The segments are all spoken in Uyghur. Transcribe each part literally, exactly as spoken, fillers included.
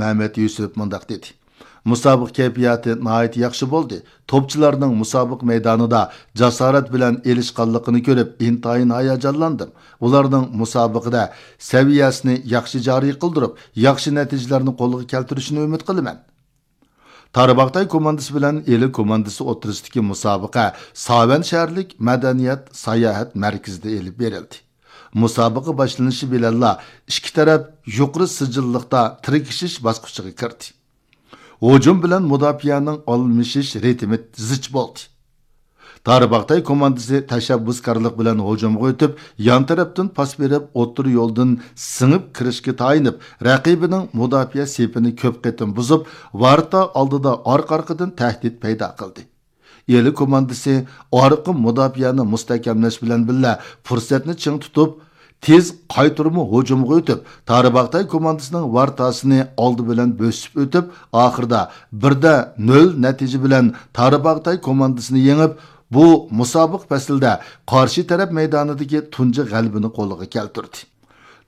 مەمەت يۈسۈپ مۇنداق دېدى: مۇسابىقە كەيپىياتى ناھايىتى ياخشى بولدى. توپچىلارنىڭ مۇسابىقە مەيدانىدا جاسارەت بىلەن ئېلىشقانلىقىنى كۆرۈپ، ئىنتايىن ھاياجانلاندىم. ئۇلارنىڭ مۇسابىقىدە سەۋىيەسىنى ياخشى جارى قىلدۇرۇپ، ياخشى نەتىجىلەرنى قولغا كەلتۈرۈشىنى ئۈمىد قىلىمەن. تارباغاتاي كوماندىسى بىلەن ئىلى كوماندىسى ئوتتۇرىسىدىكى مۇسابىقە ساۋەن شەھەرلىك مەدەنىيەت ساياھەت مەركىزىدە ئېلىپ بېرىلدى. مۇسابىقە باشلىنىشى بىلەنلا ئىككى تەرەپ يۇقىرى سىجىللىقتا تىركىشىش باسقۇچىغا كىردى. ھۇجۇم بىلەن مۇداپىئەنىڭ ئالمىشىش رىتىمى زىچ بولدى. تارباغاتاي كوماندىسى تەشەببۇسكارلىق بىلەن ھۇجۇمغا ئۆتۈپ، يان تەرەپتىن پاس بېرىپ، ئوتتۇرا يولدىن سىڭىپ كىرىشكە تايىنىپ، رەقىبىنىڭ مۇداپىئە سېپىنى كۆپ قېتىم بۇزۇپ، ۋارتا ئالدىدا ئارقا-ئارقىدىن تەھدىت پەيدا قىلدى. ئىلى كوماندىسى ئارقا مۇداپىئەنى مۇستەھكەملەش بىلەن بىللە، پۇرسەتنى چىڭ تۇتۇپ، تېز قايتۇرما ھۇجۇمغا ئۆتۈپ، تارباغاتاي كوماندىسىنىڭ ۋارتاسىنى ئالدى بىلەن بۆسۈپ ئۆتۈپ، ئاخىرىدا بىردە نۆل نەتىجە بىلەن تارباغاتاي كوماندىسىنى يېڭىپ، بۇ مۇسابىقە پەسلىدە قارشى تەرەپ مەيدانىدىكى تۇنجى غەلىبىنى قولغا كەلتۈردى.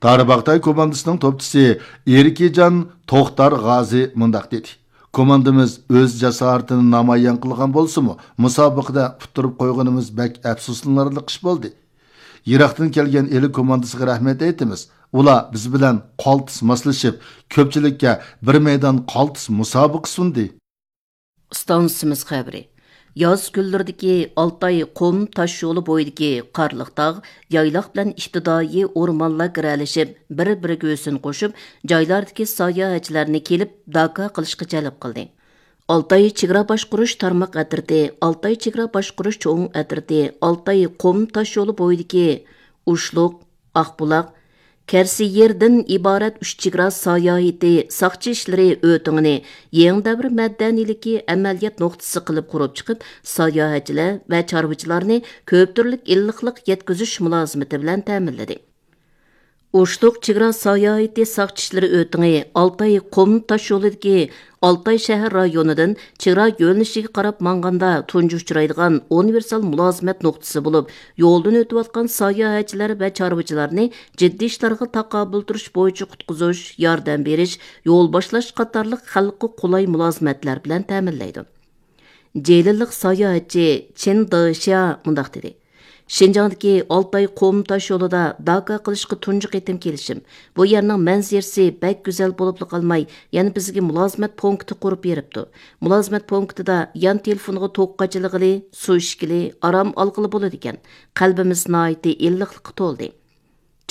تارباغاتاي كوماندىسىنىڭ توپچىسى ئېركىجان توختار غازى مۇنداق دېدى: كوماندىمىز ئۆز جاسارىتىنى نامايان قىلغان بولسىمۇ، مۇسابىقىدە ئۇتتۇرۇپ قويغىنىمىز بەك ئەپسۇسلىنارلىق ئىش بولدى. يىراقتىن كەلگەن ئىلى كوماندىسىغا رەھمەت ئېيتىمىز. ئۇلار بىز بىلەن قالتىس ماسلىشىپ، كۆپچىلىككە بىر مەيدان قالتىس مۇسابىقە سۇندى. ئىستانسىمىز خەۋىرى. ياز كۈنلىرىدىكى ئالتاي قۇم تاش يولى بويىدىكى قارلىق تاغ، يايلاق بىلەن ئىپتىدائىي ئورمانلار گىرەلىشىپ، بىر-بىرىگە ھۆسن قوشۇپ، جايلاردىكى ساياھەتچىلەرنى كېلىپ داكا قىلىشقا جەلپ قىلدى. ئالتاي چېگرا باشقۇرۇش تارماق ئەترىتى، ئالتاي چېگرا باشقۇرۇش چوڭ ئەترىتى، ئالتاي قۇم تاش يولى بويىدىكى ئۇشلۇق، ئاقبۇلاق، كەرسىيېردىن ئىبارەت ئۈچ چېگرا ساياھىتى ساقچى ئىشلىرى ئۆتىڭىنى يېڭى دەۋر مەدەنىيلىكى ئەمەلىيەت نۇقتىسى قىلىپ قۇرۇپ چىقىپ، ساياھەتچىلەر ۋە چارۋىچىلارنى كۆپ تۈرلۈك ئىللىقلىق يەتكۈزۈش مۇلازىمىتى بىلەن تەمىنلىدى. ئۇشلۇق چېگرا ساياھىتى ساقچى ئىشلىرى ئۆتىڭى ئالتاي قۇم تاش يولىدىكى ئالتاي شەھەر رايونىدىن چېگرا يۆنىلىشىگە قاراپ ماڭغاندا تۇنجى ئۇچرايدىغان ئۇنىۋېرسال مۇلازىمەت نۇقتىسى بولۇپ، يولدىن ئۆتۈۋاتقان ساياھەتچىلەر ۋە چارۋىچىلارنى جىددىي ئىشلارغا تاقابىل تۇرۇش بويىچە قۇتقۇزۇش، ياردەم بېرىش، يول باشلاش قاتارلىق خەلققە قولاي مۇلازىمەتلەر بىلەن تەمىنلەيدۇ. جېلىللىق ساياھەتچى چېن دېشيا مۇنداق دېدى: شىنجاڭدىكى ئالتاي قۇم تاش يولىدا داكا قىلىشقا تۇنجى قېتىم كېلىشىم. بۇ يەرنىڭ مەنزىرىسى بەك گۈزەل بولۇپلا قالماي، يەنە بىزگە مۇلازىمەت پونكىتى قۇرۇپ بېرىپتۇ. مۇلازىمەت پونكىتىدا يان تېلېفونغا توك قاچىلىغىلى، سۇ ئىچكىلى، ئارام ئالغىلى بولىدىكەن. قەلبىمىز ناھايىتى ئىللىقلىققا تولدى.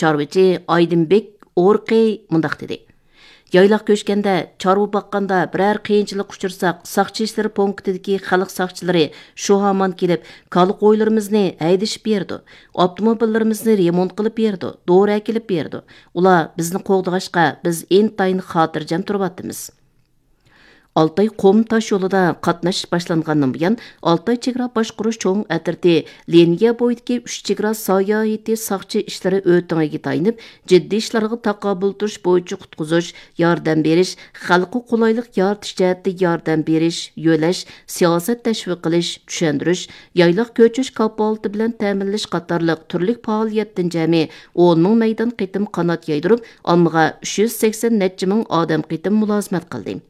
چارۋىچى ئايدىنبېك ئورقى مۇنداق دېدى: يايلاق كۆچكەندە، چارۋا باققاندا بىرەر قىيىنچىلىق ئۇچرىساق، ساقچى ئىشلىرى پونكىتىدىكى خەلق ساقچىلىرى شۇ ھامان كېلىپ، كالا قويلىرىمىزنى ھەيدىشىپ بېرىدۇ، ئاپتوموبىللىرىمىزنى رېمونت قىلىپ بېرىدۇ، دورا ئەكېلىپ بېرىدۇ. ئۇلار بىزنى قوغدىغاچقا، بىز ئىنتايىن خاتىرجەم تۇرۇۋاتىمىز. ئالتاي قۇم تاش يولىدا قاتناش باشلانغاندىن بۇيان، ئالتاي چېگرا باشقۇرۇش چوڭ ئەترىتى لىنىيە بويىدىكى ئۈچ چېگرا ساياھىتى ساقچى ئىشلىرى ئۆتىڭىگە تايىنىپ، جىددىي ئىشلارغا تاقابىل تۇرۇش بويىچە قۇتقۇزۇش، ياردەم بېرىش، خەلققە قولايلىق يارىتىش جەھەتتە ياردەم بېرىش، يۆلەش، سىياسەت تەشۋىق قىلىش، چۈشەندۈرۈش، يايلاق كۆچۈش كاپالىتى بىلەن تەمىنلەش قاتارلىق تۈرلۈك پائالىيەتتىن جەمئىي ئون مىڭ مەيدان قېتىم قانات يايدۇرۇپ، ئاممىغا ئۈچ يۈز سەكسەن نەچچە مىڭ ئادەم قېتىم مۇلازىمەت قىلدى.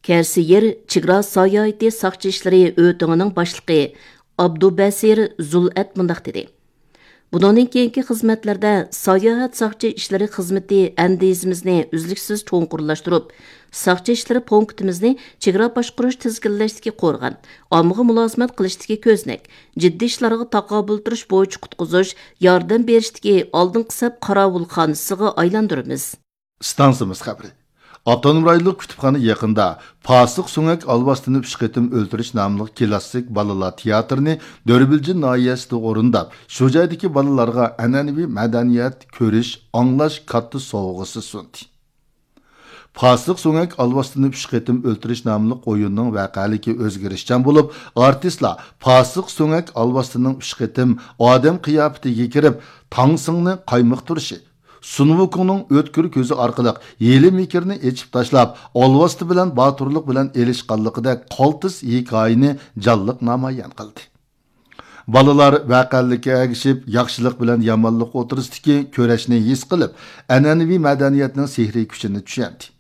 كەرسىيېر چېگرا ساياھىتى ساقچى ئىشلىرى ئۆتىڭىنىڭ باشلىقى ئابدۇبەسىر زۇلئەت مۇنداق دېدى: بۇنىڭدىن كېيىنكى خىزمەتلەردە ساياھەت ساقچى ئىشلىرى خىزمىتى ئەندىزىمىزنى ئۈزلۈكسىز چوڭقۇرلاشتۇرۇپ، ساقچى ئىشلىرى پونكىتىمىزنى چېگرا باشقۇرۇش تىزگىنلەشتىكى قورغان، ئاممىغا مۇلازىمەت قىلىشتىكى كۆزنەك، جىددىي ئىشلارغا تاقابىل تۇرۇش بويىچە قۇتقۇزۇش، ياردەم بېرىشتىكى ئالدىنقى سەپ قاراۋۇلخانىسىغا ئايلاندۇرىمىز. ئىستانسىمىز خەۋىرى. ئاپتونوم رايونلۇق كۇتۇپخانا يېقىندا پاسىق سۆڭەك ئالۋاستىنى ئۈچ قېتىم ئۆلتۈرۈش ناملىق كىلاسسىك بالىلار تىياتىرىنى دۆربىلجىن ناھىيەسىدە ئورۇنداپ، شۇ جايدىكى بالىلارغا ئەنئەنىۋى مەدەنىيەت، كۆرۈش، ئاڭلاش كاتتا سوۋغىسى سۇندى. پاسىق سۆڭەك ئالۋاستىنى ئۈچ قېتىم ئۆلتۈرۈش ناملىق ئويۇننىڭ ۋەقەلىكى ئۆزگىرىشچان بولۇپ، ئارتىسلار پاسىق سۆڭەك ئالۋاستىنىڭ ئۈچ قېتىم ئادەم قىياپىتىگە كىرىپ، تاڭسىڭنى قايمۇقتۇرۇشى، سۇن ۋۇكۇڭنىڭ ئۆتكۈر كۆزى ئارقىلىق ھىيلە-مىكىرنى ئېچىپ تاشلاپ، ئالۋاستى بىلەن باتۇرلۇق بىلەن ئېلىشقانلىقىدەك قالتىس ھېكايىنى جانلىق نامايان قىلدى. بالىلار ۋەقەلىككە ئەگىشىپ، ياخشىلىق بىلەن يامانلىق ئوتتۇرىسىدىكى كۈرەشنى ھېس قىلىپ، ئەنئەنىۋى مەدەنىيەتنىڭ سېھرىي كۈچىنى چۈشەندى.